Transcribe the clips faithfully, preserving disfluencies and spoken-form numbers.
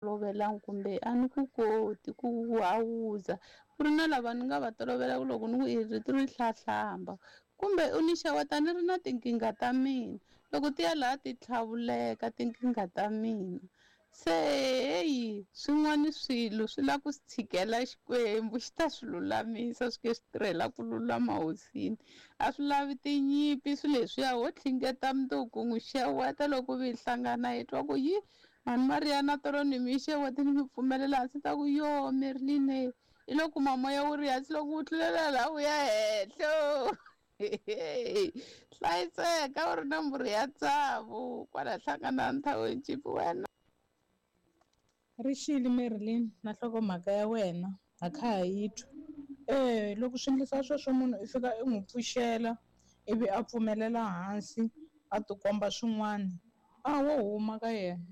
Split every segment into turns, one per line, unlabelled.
Tolovelanga kumbe a ni ku koti ku hawuza ku ri na lava ni nga va tolovela ku loko ni ku i rito ri hlahlamba kumbe u ni xeweta ni ri na tinkingha ta mina loko ti ya laha ti tlhavuleka tinkingha ta mina se heyi swin'wana swilo swi lava ku swi tshikela Xikwembu xi ta swi lulamisa swi ke swi tirhela ku lulama hosini a swi lavi tinyimpi swilo leswiya ho tlhingeta mundzuku n'wi xeweta loko vi hi hlangana hi twa ku yi mhani Mariya na tolo ni mi xewete ni mi pfumelela hansi ta ku yo Merline i lo kuma moya wu ri hansi loko wu tlulela laha wu ya henhla hlayiseka u ri na mbhuri ya tsavu kwala hlangana nthawini chipi wena.
Rixile Merlin na nhlokomhaka ya wena ha kha ha yi twa. E loko swi endlisa sweswo munhu i fika i n'wi pfuxela ivi a pfumelela hansi a tikomba swin'wana a wo huma ka yena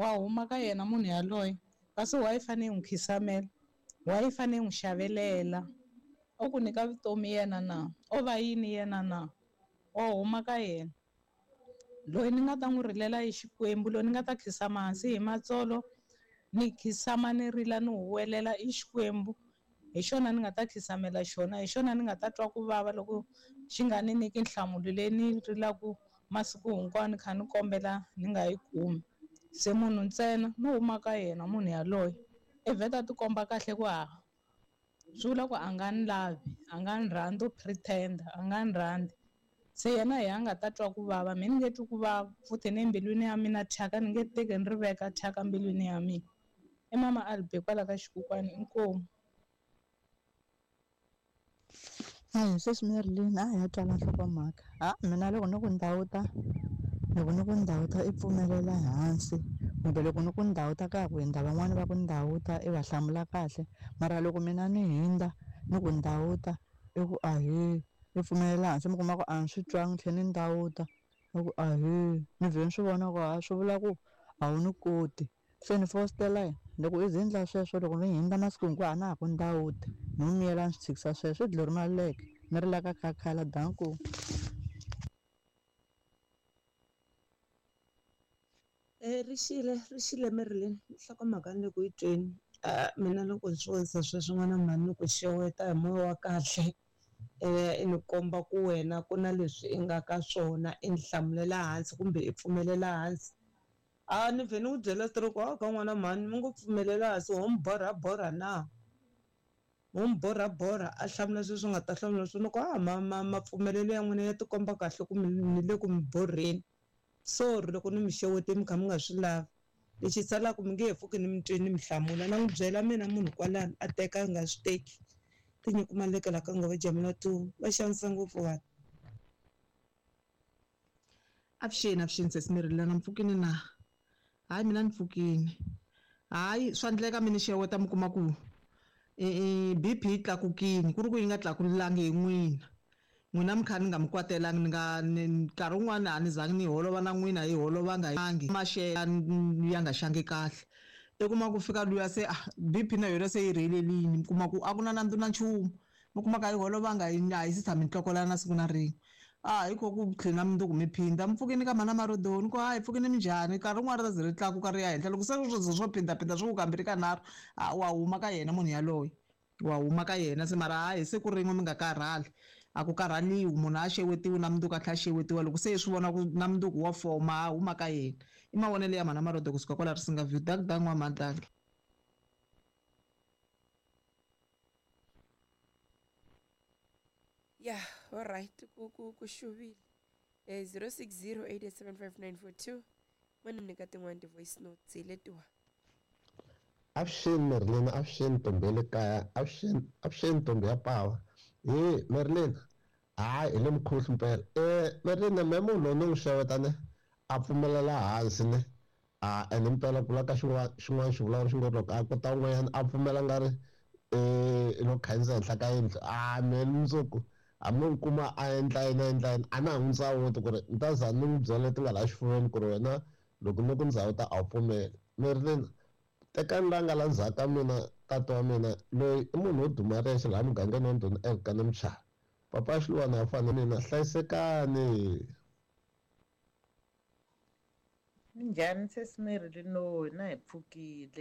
wa huma ka yena munhu yaloye kasi wa yi fanele yi n'wi khisamela wa yi fanele yi n'wi xavelela o ku nyika vutomi yena na o va yini yena na wa huma ka yena loyi ni nga ta n'wi rilela hi Xikwembu loyi ni nga ta khisama hansi hi matsolo ni khisama ni rila ni huwelela i Xikwembu hi xona ni nga ta khisamela xona hi xona ni nga ta twa ku vava loko xi nga ni nyiki nhlamulo leyi ni rilaku masiku hinkwawo ni kha ni kombela ni nga yi kumi se munhu ntsena no huma ka yena munhu yaloye i vheta tikomba kahle ku ha swi vula ku a nga ni lavi a nga ni rhandzi u pretend a nga ni rhandzi se yena hi a nga ta twa ku vava mina ni nge twi ku vava futhi ni embilwini ya mina thyaka ni nge teki ni ri veka thyaka mbilwini ya mina i mama Albi kwala ka xikukwani inkomu.
Hayi sweswi Merlin a ya twala nhlokomhaka ha mina loko ni ku ndhawuta loko ni ku ndhawuta i pfumelela hansi kumbe loko ni ku ndhawuta ka ha ku hindza van'wani va ku ndhawuta i va hlamula kahle mara loko mina ni hindza ni ku ndhawuta i ku ahee i pfumelela hansi mi kuma ku a ni swi twangi tlhela ni ndhawuta i ku ahee ni vhe ni swi vona ku ha swi vula ku a wu ni koti se ni fositela yena loko i ze ndla sweswo loko ni hindza masiku hinkwawo a na ha ku ndhawuta ni n'wi miyela ni swi tshikisa sweswo i dlolo ri maluleke ni ri la ka khakhala danko.
E rixile rixile Merlin nhlokomhaka ni le ku yi tweni mina loko ni swi vonisa sweswo n'wana mhani ni ku xeweta hi moya wa kahle i ni komba ku wena ku na leswi i nga ka swona i ni hlamulela hansi kumbe i pfumelela hansi a ni vhe ni ku byela stroke wa ka n'wana mhani mi ngo pfumelela hansi ho mi borha borha na ho mi borha borha a hlamula sweswi nga ta hlamula swona ku a ma ma mapfumelelo ya n'wina ya tikomba kahle ku ni le ku mi borheni sorry loko ni mi xewete mi kha mi nga swi lavi lexi salaka mi nge he pfuki ni mi tweni mi hlamula na n'wi byela mina munhu kwalano a teka a nga swi teki tinyiko malekela ka ngove jamela tu va xanisa ngopfu vanhu.
Avuxeni avuxeni sesi Merlin na mpfukini na hayi mina ni pfukini hayi swa endleka mi ni xeweta mi kuma ku i B P yi tlakukini ku ri ku yi nga tlakulangi hi n'wina n'wina mi kha ni nga mi kwatelangi ni nga nkarhi wun'wani a ni zangi ni holova na n'wina hi holovanga angi maxela ya nga xangi kahle i kuma ku fika luya se ah B P na yona se yi rhelelini mi kuma ku a ku na nandzu na nchumu mi kuma ka yi holovanga yi a yi si tshami ntlokolana na siku na rin'we a hi kho ku tlhela mundzuku mi phinda mi pfukini ka mhana Marodoni ku hayi pfukini minjhani nkarhi wun'wana ri ta ze ri tlakuka ri ya henhla loko se swi swo phindaphinda swi ku kambirhi kanharhu a wa huma ka yena munhu yaloye wa huma ka yena se mara hayi siku rin'we mi nga karhali a ku karhaliwi munhu a xewetiwi na mundzuku a tlhela a xewetiwa loko se hi swi vona ku na mundzuku wa foma a huma ka yena i mavonelo ya mhana Marodo kusuka kwala Risinga View dak dak n'wamadaki.
Yeah, all right. Ku ku ku xuvile. Eh zero six zero eight eight seven five nine four two. Mani nyika tin'wani ti-voice notes hi letiwa.
Avuxeni Merlin, avuxeni ntombi ya le kaya, avuxeni avuxeni ntombi ya pawa. He Merlin, hayi hi le mukhuhlu mpela. Eh Merlin me munhu loyi ni n'wi xeweta ne a pfumelela hansi ne a ene mpela ku la ka xin'wana xin'wana xivulavuri xi ngo loko a kota un'wanyana a pfumela nga ri eh lo khandziya henhla ka yindlu a me mundzuku hambi n'wi kuma a endla yini a endla yini a na ha n'wi ndzawuti ku ri ni ta za ni n'wi byela leti nga laha xifuveni ku ri wena loko ni ku ndzawuta a wu pfumeli. Merlin tekani la nga la ndzhaku ka mina tata wa mina loyi i munhu wo duma rexe laha mugangeni wa Ndhuna Elkana Mchava papa Xiluwana a fana mina hlayisekani.
Minjhani sesi Marilyn na hi pfukile.